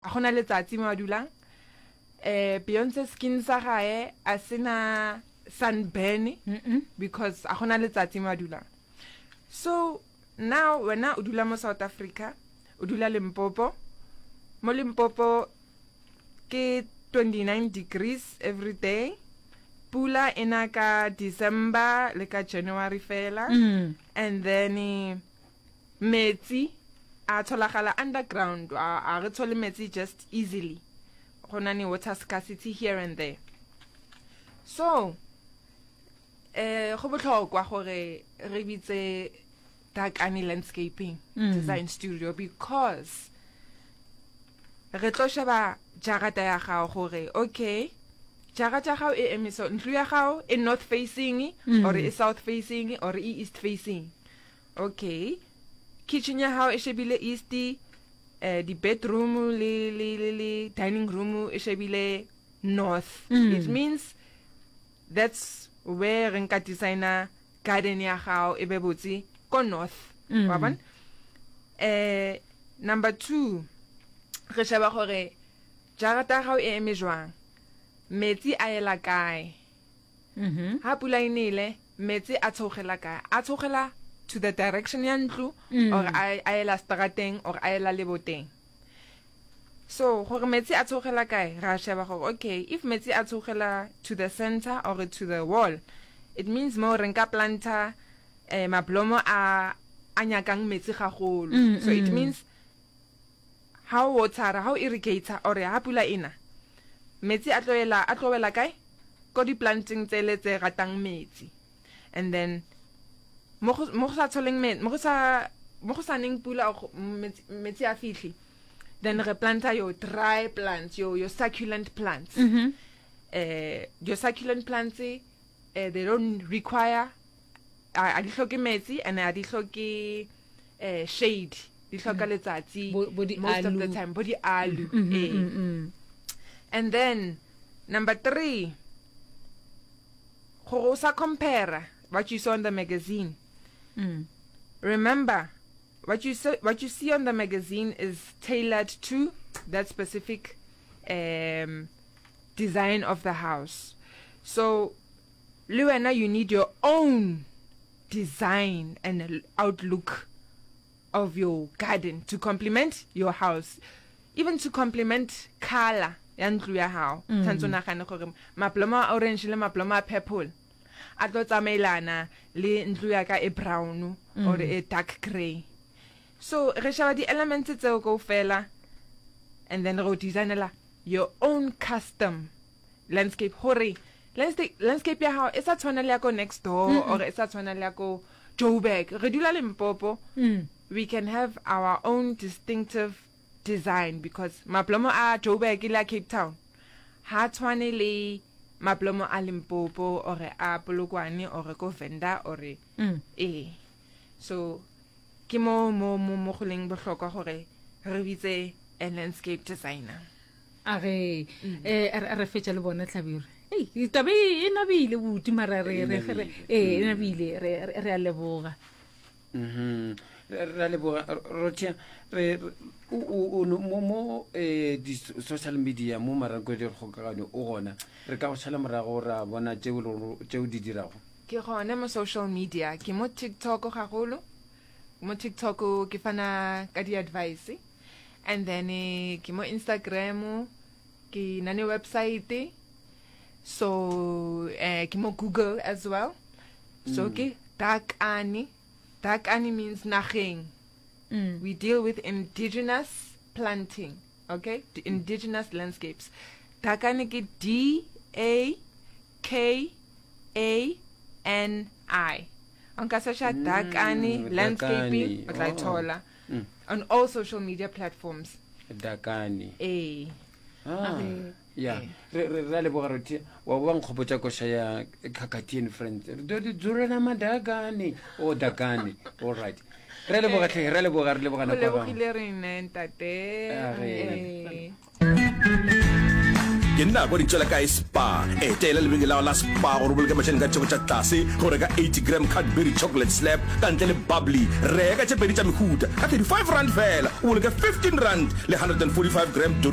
A gona letsatsi mo a dulang. Eh Beyonce skin sa gae a sena sunburn because a gona letsatsi mo a dulang. So now wena o dula mo South Africa, o dula Limpopo. Mo Limpopo ke 29 degrees every day. Pula e na ka December le ka January fela. And then eh, Metsi a tholagala underground, a, a re thole metsi just easily. Go na ne water scarcity here and there. So, eh go botlhokwa gore re bitse Dakani Landscaping mm. Design Studio because re tlo sheba jarata ya gago gore okay jarata ya gago e eme so ntlo ya gago e north facing mm. or e south facing or e east facing Okay. Kitchen ya hao e shebile east, eh di bedroom le le le le dining room e shebile north. Mm. It means that's where re nka designer garden ya gago e be botse ko north. Mm. Wa bona? Eh number 2 re sheba gore jarata ya gago e eme jwang. Metsi a ela kae? Ha pula e nele, metsi a theogela kae? A theogela to the direction ya ntlo mm. or a a ela strateng or a ela leboteng. So gore metsi a theogela kae, ra sheba gore okay, if metsi a theogela to the center or to the wall, it means mo re nka planta eh, mablomo a a nyakang metsi gagolo. Mm, so it mm. means Ha o wotara, ha o irrigator or ha pula e na, metsi a tlo ela, a tlo wela kae? Ko di planteng tsele tse ratang metsi. And then mo go mo go sa tsholeng me, mo go sa mo go sa neng pula or metsi, metsi a fitlhe, then re planta your dry plants, your your succulent plants. Mm -hmm. Eh, your succulent plants eh, they don't require a di hloke metsi and a di hloke eh, shade di hloka mm. letsatsi most of the time bo di alu mm -hmm, eh. mm -hmm. and then number 3 gore o sa compare what you saw in the magazine mm. remember what you saw, what you see on the magazine is tailored to that specific um, design of the house so Le wena you need your own design and outlook of your garden to complement your house even to complement color ya ntlo ya gago mm. tshwanetse o nagane gore mablomo a orange le mablomo a purple a tlo tsamaelana le ntlo ya ka e brown mm. or e dark grey so re sheba di-elements tseo kao fela and then re o designela your own custom landscape gore landscape ya gago e sa tshwana le ya ko next door mm -mm. or e sa tshwana le ya ko Joburg re dula Limpopo mm. we can have our own distinctive design because mablomo a Joburg le a Cape Town ha tshwane le mablomo a Limpopo or a Polokwane or ko Venda or mm. ee so ke mo mo mo mo go leng bohlokwa gore re bitse a landscape designer A ge eh a re fetša le bona tlhabirwe. Ei, tabe e nabile buti mara re re re e nabile re re a leboga. Mhm. Re a leboga Rothia re o mo mo eh di social media mo maranko di kgokagano o gona re ka go šala morago ra bona tšeo tšeo di dirago. Ke gona mo social media ke mo TikTok gagolo mo TikTok ke fana ka di advice And then eh, ke mo Instagram, ke na ne website, so eh, ke mo Google as well. So mm. ke Dakani. Dakani means nageng. Mm. We deal with indigenous planting, okay? The indigenous landscapes. Dakani ke D A K A N I. Nka searcha mm, Dakani landscaping o tla e oh. thola. Mm. On all social media platforms. Dakani. Ee. Ah, ya re re re a leboga rothi wa bo nkgopotsa koša ya Khakhathi and Friends re do di dzulena madakane o dakane all right re a leboga tlhe re a leboga re leboga nako ya gago. Go lebogile rene ntate. A re. Ee. Ke nako di tšwela kae Spar? Etela lebenkele la la Spar gore o boloke mašeleng ka theko tša tlase ge o reka 80 gram Cadbury chocolate slab ka ntle le bubbly. Reka tše pedi tša mehuta ka R35 fela o boloke R15 le 145 gram Doritos.